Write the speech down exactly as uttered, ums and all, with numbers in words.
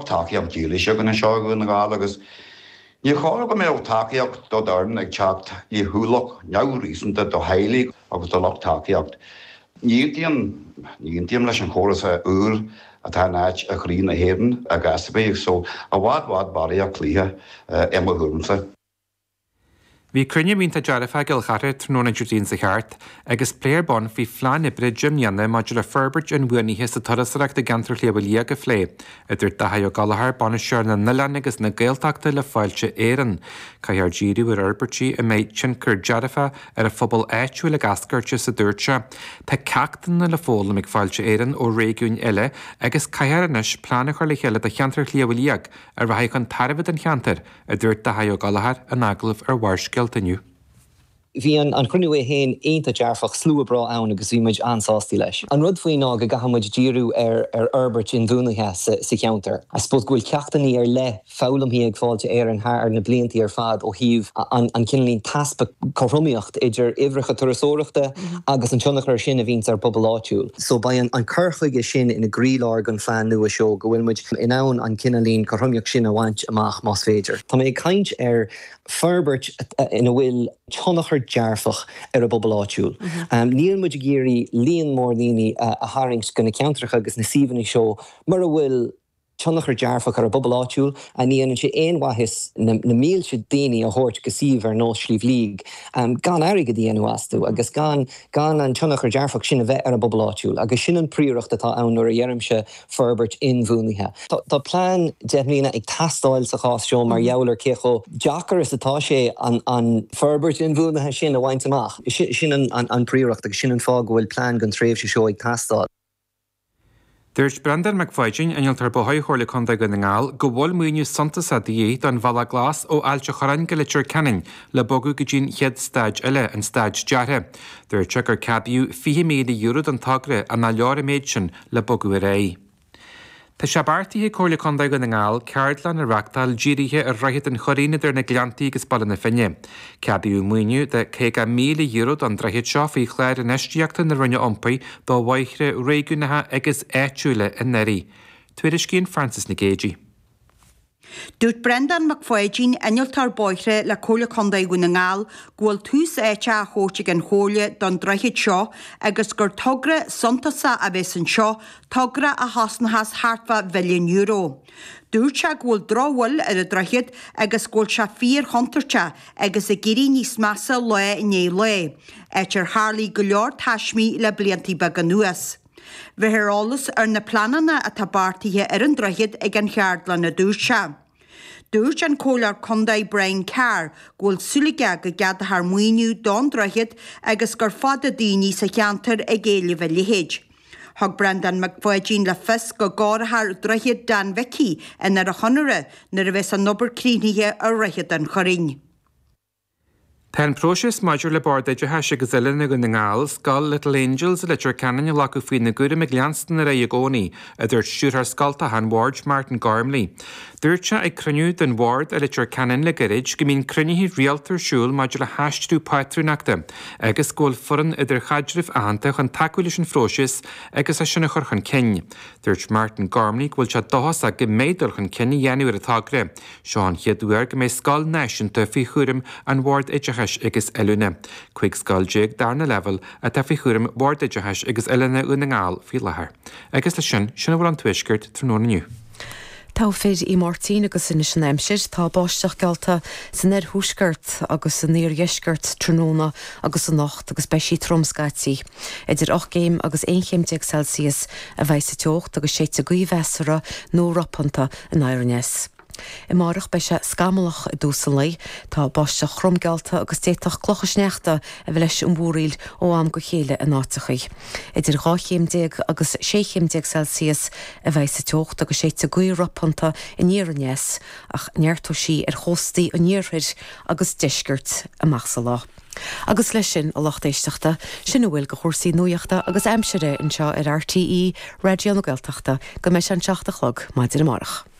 lucht tacaíocht dílis againn anseo i nDún na nGall agus ní chóir go mbeadh tacaíocht do d'fhoireann ag teacht le hualach neamhréasúnta do theaghlaigh agus do lucht tacaíocht. Ní aontaím ní aontaím leis an chóras úr atá in áit i gcroí na hÉireann i gcás ar bith, so i bhfad bhfad barraíocht cluiche i mo thuairimse. Bhí cruinniú iontach dearfach i gCill Chartha tráthnóna Déardaoin seo thart agus plé ar bun faoi phlean oibre deich mbliana maidir le forbairt inbhuanaithe sa turasóireacht i gceantar Shliabh Liag a phlé, a dúirt Daithí Ó Gallchóir, bainisteoir na n-oileán agus na Gaeltachta le Fáilte Éireann. Caithfear díriú ar fhorbairtí a mbeidh tionchar dearfach ar an phobal áitiúil ag eascairt as, a dúirt sé. Tá ceachtanna le foghlaim ag Fáilte Éireann ó réigiúin eile agus caithfear anois plean a chur le chéile do cheantar Shliabh Liag a rachaidh chun tairbhe don cheantar, a dúirt Daithí Ó Gallchóir in agallamh ar Bharrscéalta inniu. Bhí an an cruinniú é féin iontach dearfach slua breá ann agus bhí muid an-sásta leis. An rud faoi ná go gcaithfidh muid díriú ar ar fhorbairt inbhuanaithe sa, sa cheantar. I suppose go bhfuil ceachtanna ar leith foghlamtha ag Fáilte Éireann thar na blianta ar fad ó thaobh an, an cineál easpa cothromaíocht idir uimhreacha turasóireachta agus an tionchar sin a bhíonn ar pobal áitiúil. So beidh an, an cur chuige sin ina gcroílár den phlean nua seo go bhfuil muid in ann an cineál cothromaíocht sin a bhaint amach más féidir. Tá mé ag caint ar forbairt ina bhfuil tionchar dearfach ar an bpobal áitiúil. Um, Níl muid ag iarraidh líon mór daoine a, a tharraingt go na ceantracha agus na suíomhanna seo mar a bhfuil tionchar dearfach ar an bpobal áitiúil a ní dhéanann sé aon mhaitheas na, na mílte daoine a thabhairt go suíomh ar nós Sliabh Liag um, gan airgead a dhéanamh astu agus gan gan an tionchar dearfach sin a bheith ar an bpobal áitiúil, agus sin an phríoracht atá ann nuair a dheirimse forbairt inbhuanaithe. Tá, tá plean deich mbliana ag teastáil sa chás seo mar gheall ar cé chomh deacair is atá sé an, an forbairt inbhuanaithe sin a bhaint amach. Sin an, an, an phríoracht agus sin an fáth go bhfuil plean den tréimhse seo ag teastáil. Dúirt Breandán Mac Pháidín innealtóir bóthair Chomhairle Contae Dhún na nGall go bhfuil maoiniú suntasach de dhíth don Bhealach Glas ó Ailt an Chorráin go Leitir Ceanainn le bogadh go dtí an chéad staid eile an staid deartha. Dúirt sé gur ceadaíodh fiche míle euro don togra ach nach leor an méid sin le bogadh ar aghaidh. Tá sé beartaithe ag Comhairle Contae Dhún na nGall ceardlann a reáchtáil dírithe ar Dhroichead an Choirín idir na Gleanntaí agus Baile na Finne. Ceadaíodh maoiniú de caoga míle euro don droichead seo faoi chlár infheistíochta na Roinne Iompair do bhóithre réigiúnacha agus áitiúla anuraidh. Tuairiscíonn Francis Nic Géadaigh. Dúirt Breandán Mac Pháidín innealtóir bóithre le Comhairle Contae Dhún na nGall go bhfuil tús áite á thabhairt ag an chomhairle don droichead seo agus gur togra suntasach a bheas anseo togra a chosnóchas thart fá mhilliún euro. Dúirt sé go bhfuil drochbhail ar an droichead agus go bhfuil sé fíorchontúirteach agus ag éirí níos measa lá i ndiaidh lae, áit ar tharla go leor taismí le blianta beaga anuas. Bheifear eolas ar na pleananna atá beartaithe ar an droichead ag an cheardlann a dúirt sé. Dúirt an Comhairleoir Contae Brian Carr go bhfuil súil aige go gceadófar maoiniú don droichead agus gur fada daoine sa cheantar ag éileamh a leithéid. Thug Breandán Mac Pháidín le fios go gcomhairfear droichead Dan Mhicí in ar a chonaire nuair a bheas an obair críochnaithe ar Dhroichead an Choirín. Tá an próiseas maidir le Bord Oideachais agus Oiliúna Dhún na nGall, Scoil Little Angels i Leitir Ceanainn a ghlacadh faoina gcúram ag leanstan ar aghaidh i gcónaí, a dúirt stiúrthóir scoltacha an Bhoird Martin Gormley. Dúirt sé ag cruinniú den Bhord i Leitir Ceanainn le gairid go mbíonn cruinnithe rialta ar siúl maidir le haistriú pátrúnachta agus go bhfuil foireann idirchaidrimh aitheanta chun tacú leis an phróiseas agus é sin a chur chun cinn. Dúirt Martin Gormley go bhfuil sé dóchasach go mbeidh dul chun cinn á dhéanamh ar an togra. Seo an chéad uair go mbeidh scoil náisiúnta faoi chúram an Bhoird Oideachais agus Oiliúna. Cúig scoil déag darna leibhéal atá faoi chúram Bhord Oideachais agus Oiliúna Dhún na nGall faoi láthair. Agus leis sin sin a bhfuil ón Tuaisceart tráthnóna inniu. Tá fir í Máirtín agus anois an aimsir tá báisteach geallta san oirthuaisceart agus san iardheisceart tráthnóna agus anocht agus beidh sí trom scaití. Idir ocht gcéim agus aon chéim déag Celsius a bheidh sa teocht agus séidfidh gaoth mheasartha nó ropanta anoir aneas. Amárach beidh sé scamallach i dtús an lae, tá báisteach throm geallta agus d'fhéadfadh clocha sneachta a bheith leis an mhúraíl ó am go chéile in áiteachaí. Idir dhá chéim déag agus sé chéim déag Celsius a bheidh sa teocht agus séidfidh gaoth ropanta aniar aneas ach neartóidh sí ar chóstaí an iarthair agus deiscirt amach sa lá. Agus leis sin a lucht éisteachta sin a bhfuil de chúrsaí nuachta agus aimsire anseo ar RTÉ Raidió na Gaeltachta go mbeidh an seacht a chlog maidin amárach.